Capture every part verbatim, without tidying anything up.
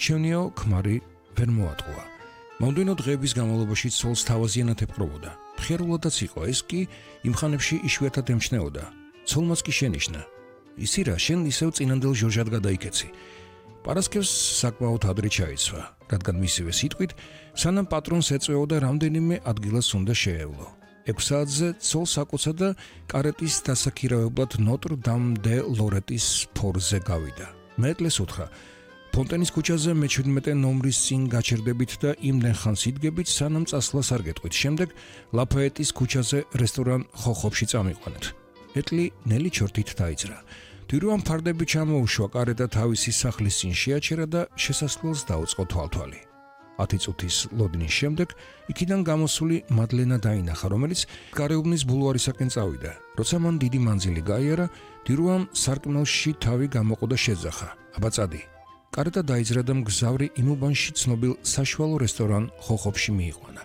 არჩევნიო ქმარი ვერ მოატყუა. მომდევნო დღეების განმავლობაში ცოლს თავაზიანად ეპყრობოდა. მხიარულადაც იყო, ეს კი იმ ხანებში იშვიათად ემჩნეოდა. ცოლმაც კი შენიშნა. ისი რა, შენ ისევ წინანდელ ჟორჟად გადაიქეცი. პარასკევს საკმაოდ ადრე ჩაიცვა, რადგან მისივე სიტყვით, სანამ პატრონს ეწვეოდა რამდენიმე ადგილას უნდა შეევლო. ექვს საათზე ცოლს აკოცა და კარეტის დასაქირავებლად ნოტრ-დამ-დე-ლორეტის ფორზე გავიდა. მეტლეს უთხრა, ფონტენის ქუჩაზე მეჩვიდმეტე ნომრის წინ გაჩერდებით და იმდენ ხანს იდგებით, სანამ წასვლას არ გეტყვით. შემდეგ ლაფაეტის ქუჩაზე რესტორან ხოხობში წამიყვანეთ. ეტლი ნელი ჩორთით დაიძრა. დირუამ ფარდები ჩამოუშვა, კარეტა თავისი სახლის წინ შეაჩერა და შესასვლელს დაუწყო თვალთვალი. ათი წუთის ლოდინის შემდეგ იქიდან გამოსული მადლენა დაინახა, რომელიც გარეუბნის ბულვარისაკენ წავიდა. როცა მან დიდი მანძილი გაიარა, დირუამ სარკმელში თავი გამოყო და შეძახა. აბა წადი. კარეტა დაიძრა და მგზავრი იმ უბანში ცნობილ საშუალო რესტორან ხოხობში მიიყვანა.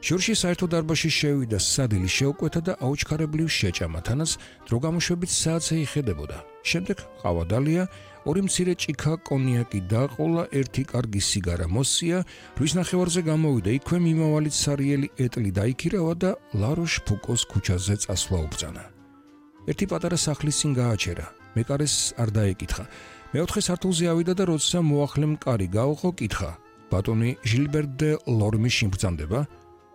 ჟორჟი საერთო დარბაზში შევიდა, სადილი შეუკვეთა და აუჩქარებლივ შეჭამა, თანაც დრო გამოშვებით საათზე იხედებოდა. შემდეგ ყავა დალია, ორი მცირე ჭიქა კონიაკი დაყოლა, ერთი კარგი სიგარა მოსია, რის ნახევარზე გამოვიდა, იქვე მიმავალით სარიელი ეტლი დაიქირავა და ლაროშ ფუკოს ქუჩაზე წასვლა უბრძანა. ერთი პატარა სახლის წინ გააჩერა, მეკარეს არ დაეკითხა. მეოთხე სართულზე ავიდა და როცა მოახლემ კარი გაუღო, კითხა: ბატონი ჟილბერ დე ლორმი შიმბრძანდება?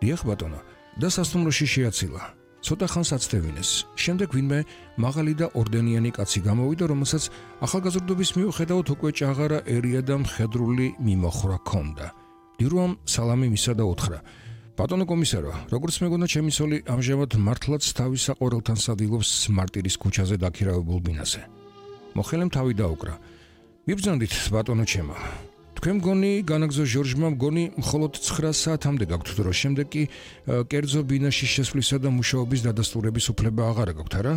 დიახ ბატონო, და სასტუმროში შეაცილა. ცოტა ხანს აცდევინეს. შემდეგ ვინმე მაღალი და ორდენიანი კაცი გამოვიდა, რომელსაც ახალგაზრდობის მიუხედავად უკვე ჭაღარა ერია და მხედრული მიმოხრა ჰქონდა. დირუამ სალამი მისცა და უთხრა: ბატონო კომისარო, როგორც მეგონა ჩემი ცოლი ამჟამად მართლაც თავის საყვარელთან სადილობს მარტირის ქუჩაზე დაქირავებულ ბინაზე. მოხელემ თავი დაუკრა. მიბრძანდით ბატონო ჩემო. თქვენ მგონი განაგზო ჟორჟმა მგონი მხოლოდ ცხრა საათამდე გაქვთ დრო, შემდეგ კი კერძო ბინაში შესვლისა და მუშაობის დადასტურების უფლება აღარ გაქვთ, არა?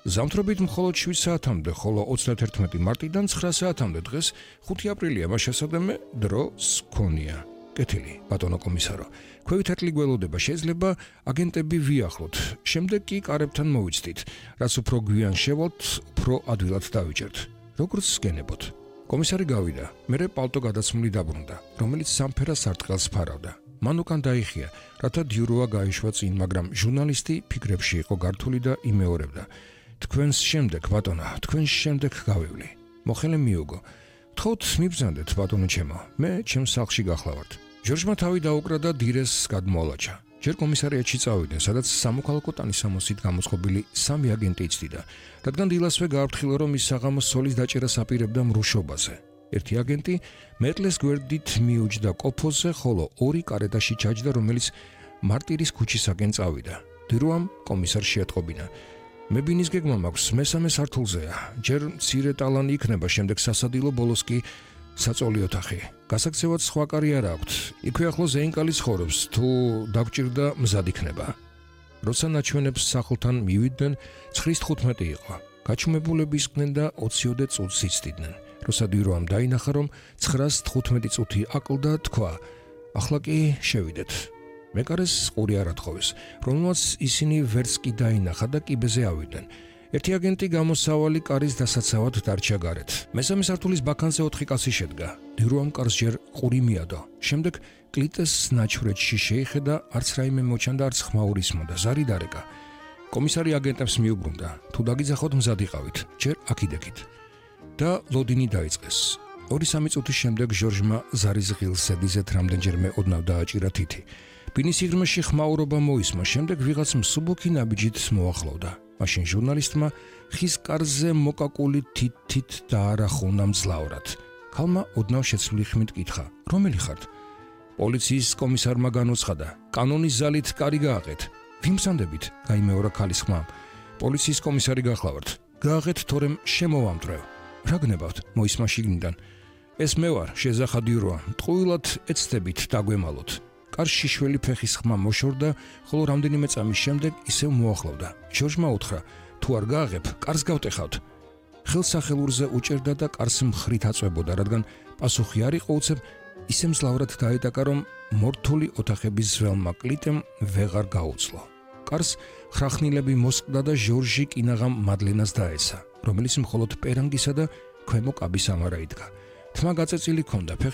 ზამთრობით მხოლოდ შვიდ საათამდე, ხოლო ოცდაათერთმეტი მარტიდან ცხრა საათამდე დღეს ხუთი აპრილია, მას შესაძლოა დროს ქონია. კეთილი, ბატონო კომისარო. ქვევით ეტლი გველოდება, შეიძლება აგენტები ვიახლოთ. შემდეგ კი კარებთან მოვიცდით, რაც უფრო გვიან შევალთ, უფრო ადვილად დავიჭერთ. როგორც გენებოთ. კომისარი გავიდა, მერე პალტო გადაცმული დაბრუნდა, რომელიც სამფერა სარტყელს ფარავდა. მან უკან დაიხია, რათა დიუროა გაიშვა წინ, მაგრამ ჟურნალისტი ფიქრებში იყო გართული და იმეორებდა. თქვენს შემდეგ, ბატონო, თქვენს შემდეგ გავივლი. მოხელე მიუგო. გთხოვთ მიბრძანდეთ, ბატონო ჩემო, მე ჩემს სახლში გახლავართ. ჟორჟმა თავი დაუკრა და დირეს გადმოალაჭა. ჯერ კომისარიატში წავიდნენ, სადაც სამოქალაქო ტანისამოსით გამოწყობილი სამი აგენტი იცდიდა, რადგან დილასვე გააფრთხილა, რომ ის საღამოს სოლის დაჭერას აპირებდა მრუშობაზე. ერთი აგენტი მეტლეს გვერდით მიუჯდა კოფოზე, ხოლო ორი კარეტაში ჩაჯდა, რომელიც მარტირის ქუჩისაკენ წავიდა. დირუამ კომისარს შეატყობინა: მე ბინის გეგმა მაქვს, მესამე სართულზეა. ჯერ მცირე ტალანი იქნება, შემდეგ სასადილო, ბოლოს კი საწოლი ოთახი. გასაქცევად სხვა კარი არ აქვთ. იქვე ახლოს ზეინკალი ცხოვრობს, თუ დაგჭირდა მზად იქნება. როცა ნაჩვენებს სახლთან მივიდნენ, ცხრას თხუთმეტი იყო. გაჩუმებულები ისხდნენ და ოციოდე წუთს იცდიდნენ. როცა დირუამ დაინახა, რომ ცხრას თხუთმეტი წუთი აკლდა, თქვა: ახლა კი შევიდეთ. მეკარეს ყური არ ათხოვეს, რომელმაც ისინი ვერც კი დაინახა და კიბეზე ავიდნენ. ერთი აგენტი გამოსავალი კარის დასაცავად დარჩა გარეთ. მესამე სართულის ბაქანზე ოთხი კაცი შედგა. დირუამ კარს ჯერ ყური მიადო. შემდეგ კლიტეს ნაჩვრეთში შეიხედა, არც რაიმე მოჩანდა, არც ხმაური ისმოდა, ზარი დარეკა. კომისარი აგენტებს მიუბრუნდა: თუ დაგიძახოთ, მზად იყავით, ჯერ აქიდექით. და ლოდინი დაიწყეს. ორი-სამი წუთის შემდეგ ჟორჟმა ზარის ღილს ზედიზედ რამდენჯერმე ოდნავ დააჭირა თითი. ბინის სიღრმეში ხმაურობა მოისმა, შემდეგ ვიღაც მსუბუქი ნაბიჯით მოახლოვდა. მაშინ ჟურნალისტმა ხის კარზე მოკაკული თითით დაარახუნა მძლავრად. ქალმა ოდნავ შეცვლილი ხმით კითხა: რომელი ხართ? პოლიციის კომისარმა განუცხადა: კანონის ზალით კარი გააღეთ. ვიმსანდებით? გაიმეორა ქალის ხმამ. პოლიციის კომისარი გახლავართ. გააღეთ, თორემ შემოვამტრევ. რა გნებავთ? მოისმა შიგნიდან. ეს მე ვარ, შეზახა დირუა. ტყუილად ეცდებით დაგვემალოთ. კარში შველი ფეხის ხმა მოშორდა, ხოლო რამდენიმე წამის შემდეგ ისევ მოახლოვდა. ჟორჟმა უთხრა: თუ არ გააღებ, კარს გავტეხავთ. ხელსახელურზე უჭერდა და კარს მხრით აწვებოდა, რადგან პასუხი არ იყო უცებ, ისე მძლავრად დაედაკა, რომ მორთული ოთახების ძველმა კლიტემ ვეღარ გაუძლო. კარს ხრახნილები მოსყდა და ჟორჟი კინაღამ მადლენას დაესა, რომელიც მხოლოდ პერანგისა და ქვემო კაბის ამარა იდგა. თმა გაწეწილი ჰქონდა, ფეხში